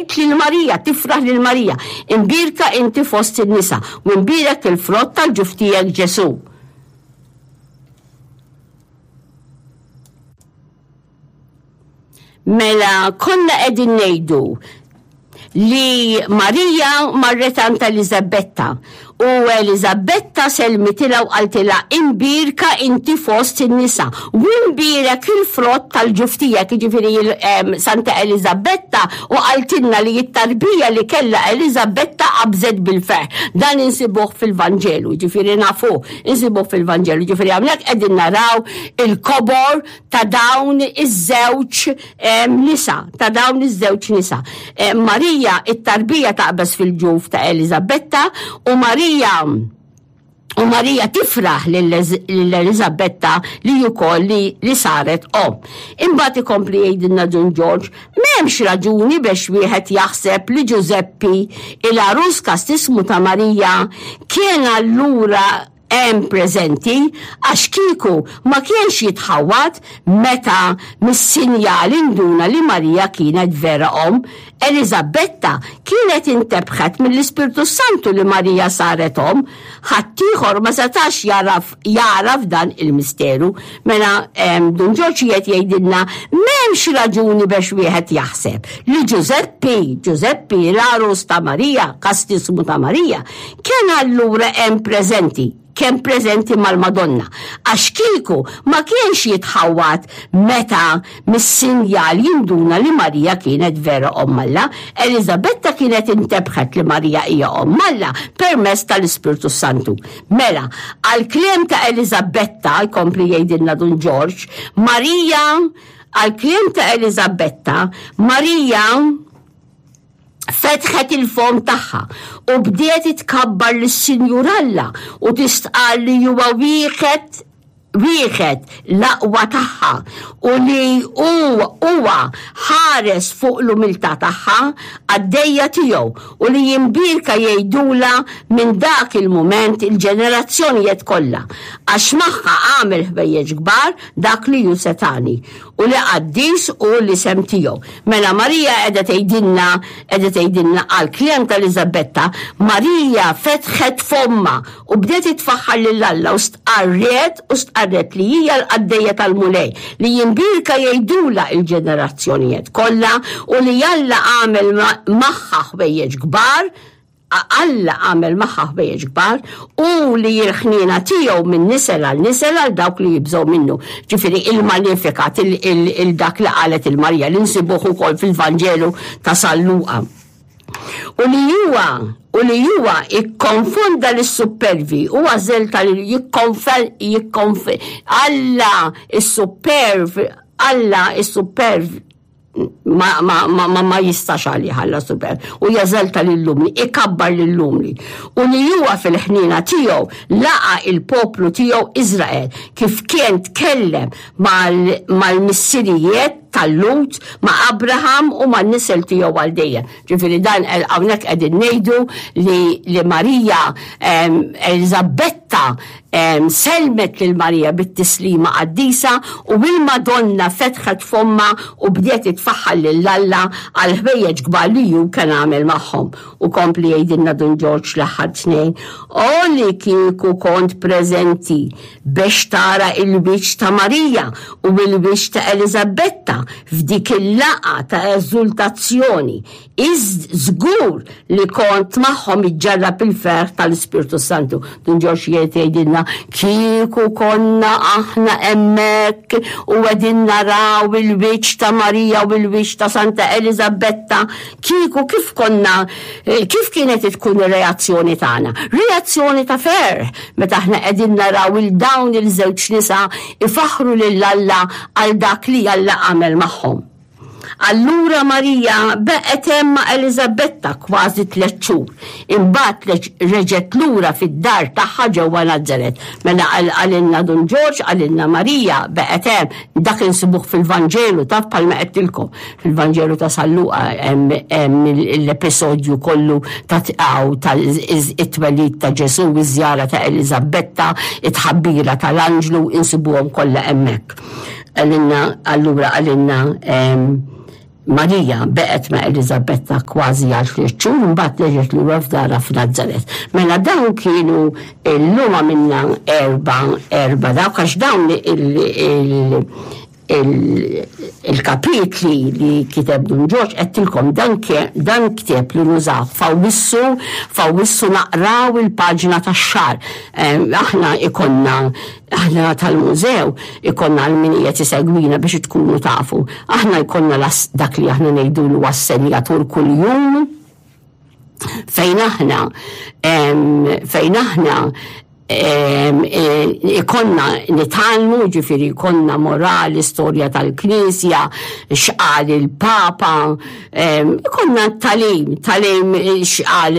tgħid lil Marija, tifraħ lil Marija, imbierka inti fost in-nisa u imbierek il-frott tal-ġuf tiegħek Ġesù. Mela konna qegħdin ngħidu li Marija marret għand Eliżabetta u Eliżabetta sellmitilha u qaltilha imbierka inti fost in-nisa u imbierek il-frott tal-ġuf tiegħek, jiġifieri Santa Eliżabetta u qaltilna li t-tarbija li kellha Eliżabetta qabżet bil-ferħ. Dan insibuh fil-Vanġelu, jiġifieri nafuh, insibuh fil-Vanġelu, jiġifieri hawnhekk qegħdin naraw il-kobor ta' dawn iż-żewġ nisa, ta' dawn iż-żewġ nisa. Marija, it-tarbija taqbeż fil-ġuf ta' Eliżabetta u Marija u Marija tifraħ lil Eliżabetta li wkoll li, li saret omm. Imbagħad ikompli jgħidilna Dun Ġorġ, m'hemmx raġuni biex wieħed jaħseb li Ġużeppi, il-għarus kastismu ta' Marija, kien allura hemm preżenti għax kieku ma kienx jitħawwad meta mis-sinjal induna li Marija kienet vera omm. Eliżabetta kienet intebħet mill-Ispirtu s-Santu li Marija saret omm. Ħaddieħor ma setax jagħraf jagħraf dan il-misteru. Mela Dun Ġorġ qiegħed jgħidilna m'hemmx raġuni biex wieħed jaħseb li Ġużeppi, Ġużeppi l-għarus ta' Marija, kastismu ta' Marija, Kien allura hemm preżenti, kien preżenti mal-Madonna, għax kieku ma kienx jitħawwad meta mis-sinjal jinduna li Marija kienet vera Omm Alla. Eliżabetta kienet intebħet li Marija hija Omm Alla permezz tal-Ispirtu s-Santu. Mela, għall-kliem ta' Eliżabetta, jkompli jgħidilna Dun Ġorġ, Marija, għall-kliem ta' Eliżabetta, Marija, fetħet il-fomm tagħha u bdiet tkabbar lis-Sinjur Alla u tistqarr li huwa wieħed wieħed l-aqwa tagħha u li hu huwa ħares fuq l-umiltà tagħha qaddejja tiegħu u li jimbierka jgħidulha minn dak il-mument il-ġenerazzjonijiet kollha għax magħha għamel ħwejjeġ kbar dak li hu setgħani u li qaddis hu l-isem tiegħu. Mela Marija qiegħda tgħidilna, qiegħda tgħidilna għall-kliem ta' Eliżabetta, Marija fetħet fommha u bdiet tfaħħar lil Alla u stqarret u stqarret li hija l-qaddejja tal-Mulej, li jimbierka jgħidulha l-ġenerazzjonijiet kollha u li Alla għamel magħha ħwejjeġ kbar, Alla għamel magħha ħwejjeġ kbar u li l-ħniena tiegħu minn nisel għal nisel għal dawk li jibżgħu minnu. Ġifieri il-Magnificat, il-dak li qalet il-Marija li nsibuh ukoll fil-Vanġelu ta' San Luqa. U li huwa u li huwa ikkonfonda lis-suppervi u għażel tal jikkonfel jikkonf Alla is-supperv Alla is-supperv ma, ma, ma, ma, ma jistax għalih Alla super u jeżalta lill-umli, ikabbar lill-umli. U li huwa fil-ħniena tiegħu laqa il-poplu tiegħu Iżrael kif kien tkellem mal-missirijiet tal-Lut ma' Abraham u man-nisel tiegħu għal dejjem. Ġifieri dan hawnhekk qegħdin ngħidu li, li Marija Eliżabetta Sellmet lil Marija bit-tislima qaddisa u il-Madonna fetħet fommha u bdiet tfaħħar lil Alla għall-ħwejjeġ kbar li hu kien għamel magħhom. U kompli jgħidilna Dun Ġorġ l-aħħar tnejn, O li kieku kont preżenti bex tara il-wiċċ ta' Marija u il-wiċċ ta' Eliżabetta f'dik il-laqgħa ta' eżultazzjoni Iżd żgur li kont magħhom iġġarrab il-ferħ tal-Ispirtu s-Santu. Dun Ġorġ jgħid jgħidilna kieku konna aħna hemmhekk u qegħdin naraw il-wiċċ ta' Marija u l-wiċċ ta' Santa Eliżabetta, kieku kif konna kif kienet tkun ir-reazzjoni tagħna? Reazzjoni ta' ferħ meta aħna qegħdin naraw il dawn il-żewġ nisa ifaħħru lil Alla għal dak li Alla għamel magħhom. Allura Marija beqgħet hemm ma' Eliżabetta kważi tlett xhur. Imbagħad reġgħet lura fid-dar tagħha ġewwa Nazaret. Mela qalilna Dun Ġorġ, qalilna Marija beqgħet hemm. Dak insibuh fil-Vanġelu, taf bħalma għedtilkom. Fil-Vanġelu ta' San Luqa hemm l-episodju kollu ta' it-twelid ta' Ġesù, iż-żjara ta' Eliżabetta, it-tħabbira tal-anġlu, insibuhom kollha hemmhekk. Qalilna, allura qalilna. Marija beqgħet ma' Eliżabetta kważi għal tliet xhur imbagħad reġgħet lura f'darha f'Nazaret. Mela dawn kienu llum għamilna erba' erba' dawk għax dawn il il-kapitli li kiteb Dun Ġorġ għedtilkom dan dan ktieb li nużaw f'Awwissu f'Awwissu naqraw il-paġna tax-xahar. Aħna ikonna Aħna tal-mużew ikollna għal min qiegħed isegwina biex tkunu tafu. Aħna jkollna dak li aħna ngħidulu assenjatur kuljum fejn aħna fejn aħna ikonna nitgħallmu, ġifieri jkollna morali, storja tal-Knisja, x'qal il-Papa, Konna talim, talim xqal,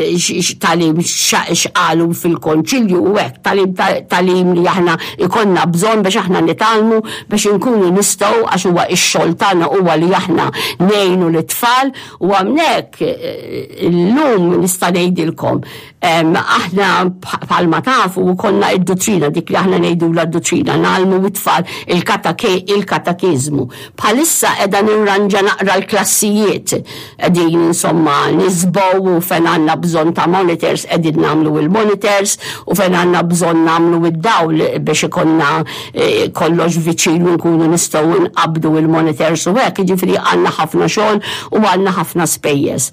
talim xqalu fil-konċilju u hekk, talim talim li aħna ikonna bżonn biex aħna nitgħallmu biex inkunu nistgħu għax huwa x-xogħol tagħna huwa li aħna ngħinu lit-tfal u hawnhekk eh, illum nista' ngħidilkom Aħna bħalma tafu konna id-duttrina dik li aħna ngħidulha d-duttrina ngħallmu it-tfal il-katekiżmu. Bħalissa qiegħda nirranġa naqra l-klassijiet qegħdin insomma nisbow u fejn għandna bżonn ta' monitors qegħdin nagħmlu il-monitors u fejn għandna bżonn nagħmlu id-dawl biex ikollna eh, kollox viċin u nkunu nistgħu nqabbdu il-monitors u hekk, jiġifieri għandna ħafna xogħol u għandna ħafna spejjeż.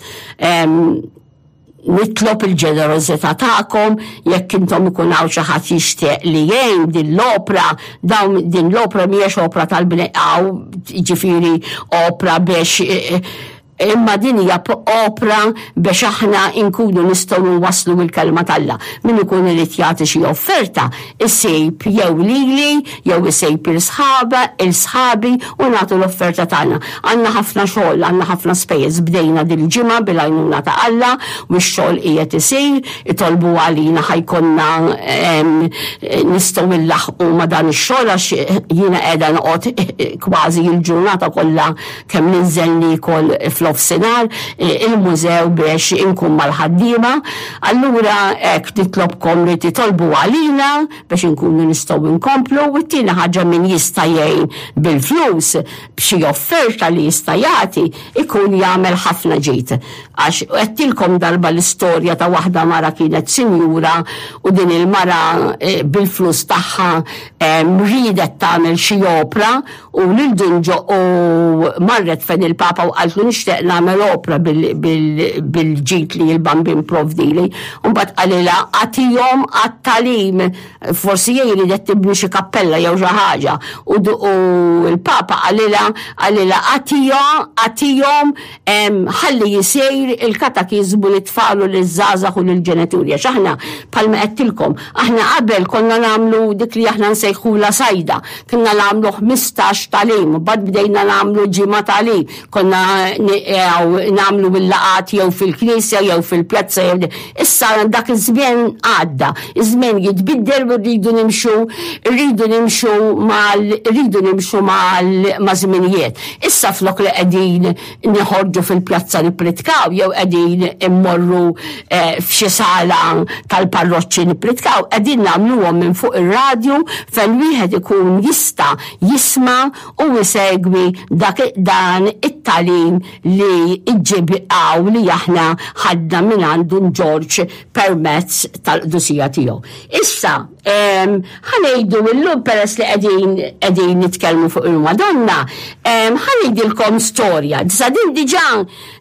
Nitlob il-ġenerożità tagħkom jekk intom ikun hawn xi ħadd jixtieq li jgħin din l-opra, dawn din l-opra mhijiex opra tal-bneqgħu, jiġifieri opra biex eh, imma din hija opra biex aħna nkunu nistgħu nwasslu l-kelma t'Alla. Min ikun irid jagħti xi offerta, isib jew lili jew isib il-sħaba, il-sħabi u nagħtu l-offerta tagħna. Għandna ħafna xogħol, għandna ħafna spejjeż. Bdejna dil-ġimgħa bil-għajnuna ta' Alla u x-xogħol qiegħed isir, itolbu għalina ħa jkollna nistgħu nlaħħqu ma' dan ix-xogħol għax jiena qiegħda noqgħod kważi l-ġurnata kollha kemm ninżel niekol f'nofsinhar il-mużew biex inkun mal-ħaddiema. Allura hekk nitlobkom li titolbu għalina biex inkunu nistgħu nkomplu u t-tieni ħaġa min jista' jgħin bil-flus b'xi offerta li jista' jagħti ikun jagħmel ħafna ġid. Għax għedtilkom darba l-istorja ta' waħda mara kienet sinjura u din il-mara eh, bil-flus tagħha eh, riedet tagħmel xi opra U lil Dun Ġo u marret fejn il-Papa u qaltlu nixtieq nagħmel opra bil-ġid li l-Bambin provdili. U mbagħad qalilha agħtihom għat-tagħlim. Forsi hi riedet tibni xi kappella jew xi ħaġa. U l-Papa qalilha qalilha agħtihom ħalli jsir il-katakiżmu lit-tfal u liż-żgħażagħ u lill-ġenituri. Għax aħna bħalma għedtilkom, aħna qabel konna nagħmlu dik li aħna nsejħulha sajda. Konna nagħmlu 15 tagħlim, mbagħad bdejna nagħmlu ġimgħa tagħlim. Konna nagħmlu il-laqgħat jew fil-knisja jew fil-pjazza jew Issa dak iż-żmien għadda, iż-żmien jitbiddel u rridu nimxu, rridu nimxu mal rridu nimxu mal ma' żminijiet. Issa flok li qegħdin noħorġu fil-pjazza nippritkaw jew qegħdin immorru eh, f'xi sala tal-parroċċi nippritkaw, qegħdin nagħmluhom minn fuq ir-radju fejn wieħed ikun jista' jisma' u jsegwi dak dan it-tagħlim li ġġib hawn li aħna ħadna minn għand Dun Ġorġ permezz tal-qdusija tiegħu. Issa, ħa ngħidu llum peress li qegħdin qegħdin nitkellmu fuq il-Madonna, ħa ngħidilkom storja. Issa din diġà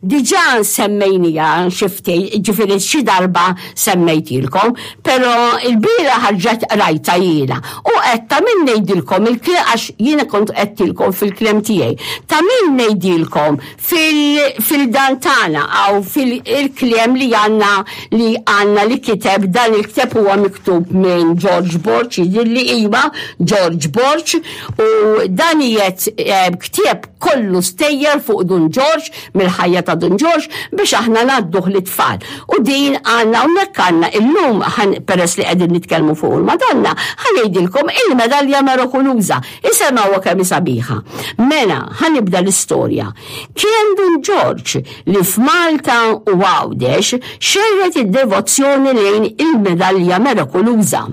diġà semmejnija xi ftit, ġifieri xi darba semmejtilkom, però l-bieraħ ħarġet qrajtha jiena u qed ta' min ngħidilkom il-kliem għax jiena kont għedtilkom fil-kliem tiegħi. Ta' min ngħidilkom fil-dan tagħna għaw fil-kliem li għandna li għandna li kiteb dan il-kteb huwa miktub minn George Borg jidhirli iva George Borg u dan qiegħed eh, ktieb kollu stejjer fuq Dun Ġorġ mill-ħajja ta' Dun Ġorġ biex aħna ngħadduh lit-tfal. U din għandna hawnhekk għandna illum peress li qegħdin nitkellmu fuq il-Madonna, ħa ngħidilkom il-medalja merakuluża. Isemgħuha kemm hi sabiħa. Mela, ħa nibda l-istorja. Kien Dun Ġorġ li f'Malta u Għawdex xerred id-devozzjoni lejn il-medalja merakuluża.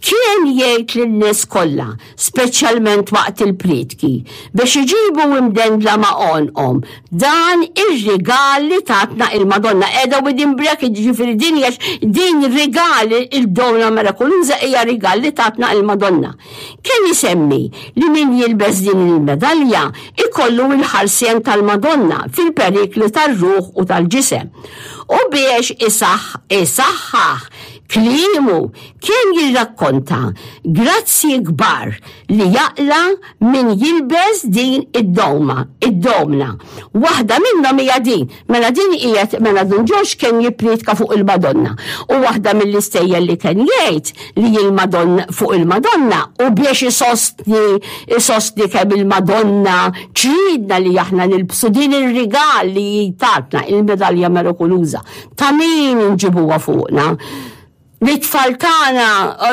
Kien jgħid lin-nies kollha, speċjalment waqt il-prietki, biex iġibu imdendla ma' għonqhom dan ir-rigal li tatna il-Madonna. Qiegħda within bracket, ġifieri din hija din rigal il-Donna Mirakoluża hija rigal li tatna il-Madonna. Kien isemmi li min jilbes din il-medalja ikollu il-ħarsien tal-Madonna fil-perikli tar-ruħ u tal-ġisem. U biex isaħħaħ kliemu kien jirrakkonta grazzji kbar li jaqla' min jilbes din id-doma, id-domna. Waħda minnhom hija din, mela din qiegħed mela Dun Ġorġ kien jippriedka fuq il-Madonna. U waħda mill-istejjer li kien jgħid li il-Madonna fuq il-Madonna u biex isostni isostni kemm il-Madonna tridna li aħna nilbsu din ir-rigal li tatna il-medalja mirakoluża. Ta' min inġibuha fuqna? Li t-tfal tagħna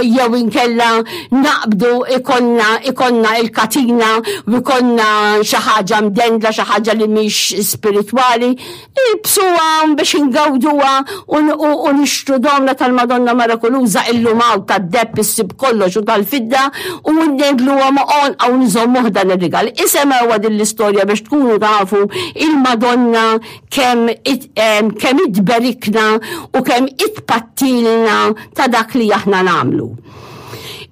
jew inkella naqbdu ikonna ikonna il-katina u ikonna xi ħaġa mdendla xi ħaġa li mhix spiritwali, ilbsuha biex ingawduha u nixtru domna tal-Madonna Mirakoluża illum hawn tad-deheb issib kollox u tal-fidda u ndendluha ma' għonqha u nżommuh dan ir-rigal. Isemgħuha din l-istorja biex tkunu tafu il-Madonna kemm kemm itberikna u kemm itpattilna ta' dak li aħna nagħmlu.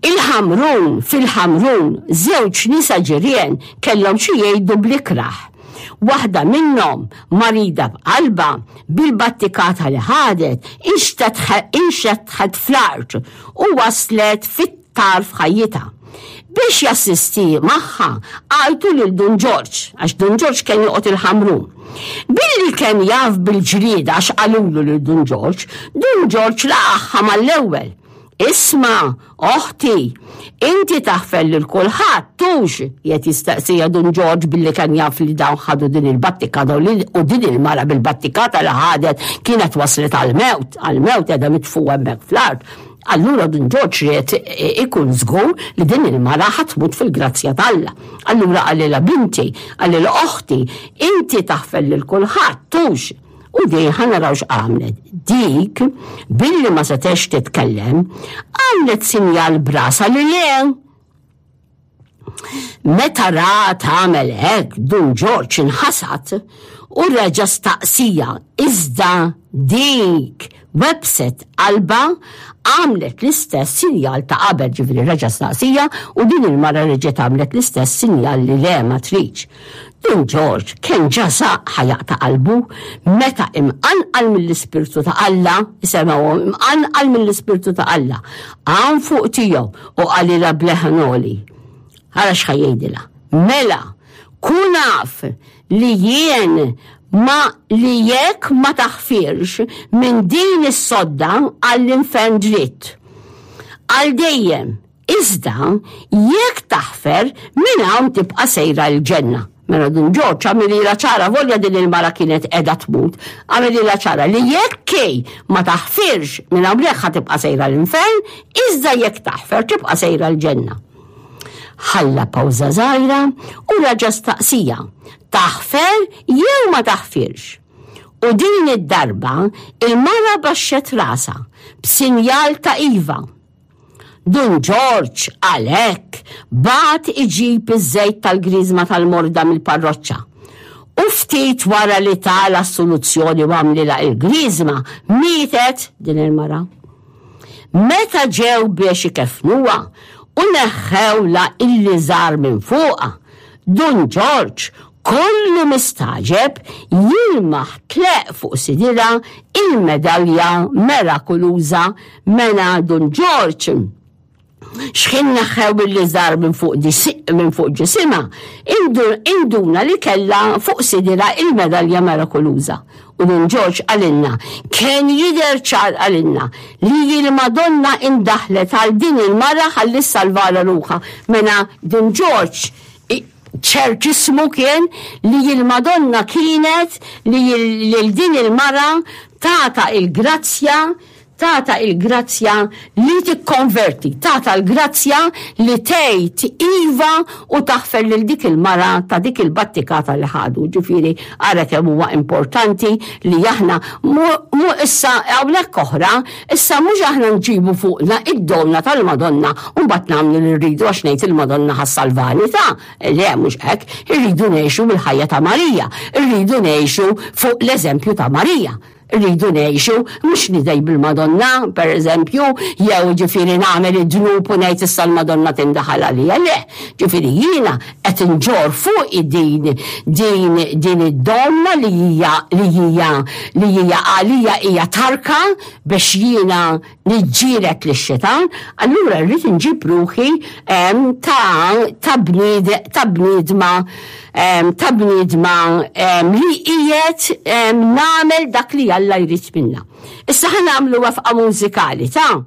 Il-Ħamrun, fil-Ħamrun, żewġ nisa ġirien kellhom xi jgħidu bl-ikrah. Waħda minnhom, marida b'qalbha, bil-battikata li ħadet, inxetħet fl-art u waslet fit tarf ħajjitha. Biex jassisti magħha għajtu lil Dun Ġorġ, għax Dun Ġorġ kien joqgħod il-Ħamrun. Billi kien jaf bil-ġlieda għax qalulu lil Dun Ġorġ, Dun Ġorġ laqagħha mal-ewwel. Isma', oħti, inti taħfer lil kulħadd, tux? Qiegħed jistaqsiha Dun Ġorġ billi kien jaf li dawn ħadu din il-battikata u din il-mara bil-battikata li ħadet kienet waslet għall-mewt, għall-mewt qiegħda mitfugħa hemmhekk fl-art. Allura Dun Ġorġ ried ikun żgur li din il-mara ħa tmut fil-grazzja t'Alla. Allura qalilha binti, qalilha oħti, inti taħfer lil kulħadd, tux. U din ħa naraw x'għamlet. Dik, billi ma setgħetx titkellem, għamlet sinjal b'rasha li le. Meta ra tagħmel hekk, Dun Ġorġ inħasad u reġa' staqsija iżda dik webset qalbha għamlet l-istess sinjal ta' qabel, ġifieri reġa' staqsija u din il-mara reġgħet għamlet l-istess sinjal li le ma tridx. Dun Ġorġ kien ġa saq ħa jaqta' qalbu meta imqanqal mill-Ispirtu ta' Alla, isemgħuhom, imqanqal mill-Ispirtu ta' Alla, qam fuq tiegħu u qalilha b'leħen għoli. Ara x'ħa jgħidilha. Mela, kun af li jien ma li jekk ma taħfirx minn din is-sodda għall-infern dritt. Għal dejjem, iżda jekk taħfer minn hawn tibqa' sejra l-ġenna. Mela Dun Ġorġ għamililha ċara volja din il-mara kienet qiegħda tmut, għamililha ċara li jekk hi ma taħfirx minn hawnhekk ħa tibqa' sejra l-infern, iżda jekk taħfer tibqa' sejra l-ġenna. Ħalla pawża żgħira u raġa' staqsija, taħfer jew ma taħfirx? U din id-darba il-mara baxxet rasha b'sinjal ta' iva. Dun Ġorġ, għalhekk, bagħat iġib iż-żejt tal-griżma tal-morda mill-parroċċa. U ftit wara li ta l-assoluzzjoni u għamlilha il-griżma, mietet din il-mara. Meta ġew biex ikeffnuha u neħħewlha il-liżar minn fuqha, Dun Ġorġ kollu mistagħġeb jilmaħ tleqq fuq sidirha il-medalja merakuluża mena Dun Ġorġ x'ħin neħħew il-liżar minn fuq minn fuq ġisimha, induna li kellha fuq sidirha il-medalja merakuluża. U Dun Ġorġ qalilna, kien jidher ċar qalilna, li l-Madonna indaħlet għal din il-mara ħalli ssalvalha ruħha. Mela Dun Ġorġ ċertismu kien li l-Madonna kienet li lil din il-mara tata il-grazzja. Tata il-grazzja li tikkonverti, tata l-grazzja li tgħid iva u taħfer lil dik il-mara ta' dik il-battikata li ħadu. Ġifieri ara kemm huwa importanti li aħna mu issa hawnhekk oħra, issa mhux aħna nġibu fuqna id-domna tal-Madonna u mbagħad nagħmlu li rridu għax ngħid il-Madonna ħassalvani ta' le mhux hekk, irridu ngħixu bil-ħajja ta' Marija, irridu ngħixu fuq l-eżempju ta' Marija. Rridu ngħixu, mhux nidej bil-Madonna, per eżempju, jew ġifieri nagħmel id-dnub u ngħid issa l-Madonna tindaħal għalija. Le, ġifieri jiena qed inġorr fuqi din din din id-domna li hija li hija li hija għalija hija tarka biex jiena niġġieled lix-xitan, allura rrid inġib ruħi ta' ta' bnied ta' bniedma ta' bniedma li qiegħed nagħmel dak li Alla jrid minna. Issa ħa nagħmlu wafqa mużikali ta'.